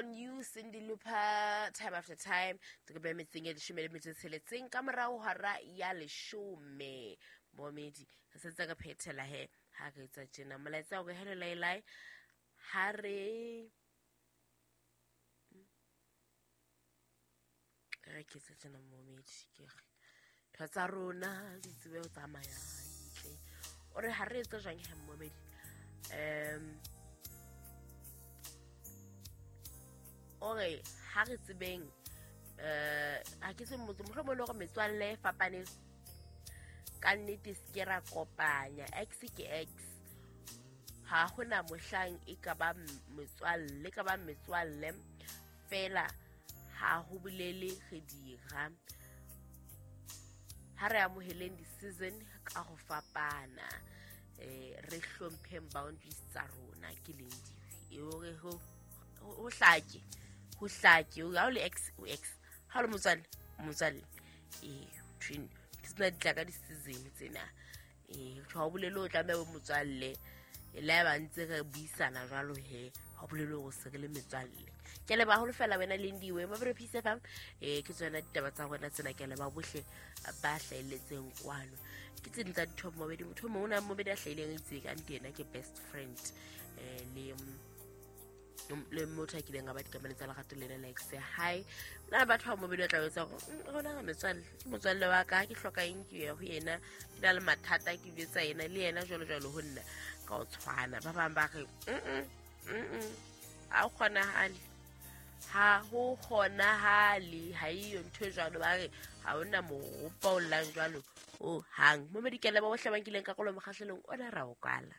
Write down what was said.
On You, Cindy Lupa, Time After Time. Ke be metseng e 16 ka morao hora ya 10. Momedi, re sentse re phethela he ha re etsa tjena. Molaetsa o re hello lailai. Ha re re ke tse tjena momedi ke re ntho tsa rona di tsebe ho tsamaya hantle. O re ha re etse jwang he momedi? O re ha re tsebeng ha ke se motho mohlomong le hore metswalle e fapaneng ka nnete se ke ra kopanya x ke x ha hona mohlang e ka ba metswalle ka ba metswalle fela ha ho bolele re dira ha re amoheleng di-season ka ho fapana re hlompheng boundaries tsa rona ke leng dife e hore ho hlake ha o le x o x ha o le motswalle twin ke tsena di tla ka di-season tsena ha o bolele o tlameha o motswalle le ha ba ntse re buisana jwalo he ha o bolele hore se re le metswalle. Ke leba haholo fela wena Lindiwe Mabere Peace FM ke tsona ditaba tsa rona tsena ke leba bohle ba hlahelletseng kwano ke tse ding tsa ditho mobedi motho mongwe o na mobedi a hlahileng a itse ka nte yena ke best friend le motho a kileng a ba dikamano tsa lerato le ena like say hi na batho ba mobedi o tla etsa hore rona re metswalle ke motswalle wa ka ke hloka eng ke ya ho yena ke na le mathata ke jwetsa yena le yena jwalo jwalo ho nna ka o tshwana ba bang ba re ha o kgonahale ha ho kgonahale ha iyo ntho e jwalo ba re ha hona moropa o llang jwalo o hang momedi ke leba bohle ba nkileng karolo mokgahlelong ona ra o kwala.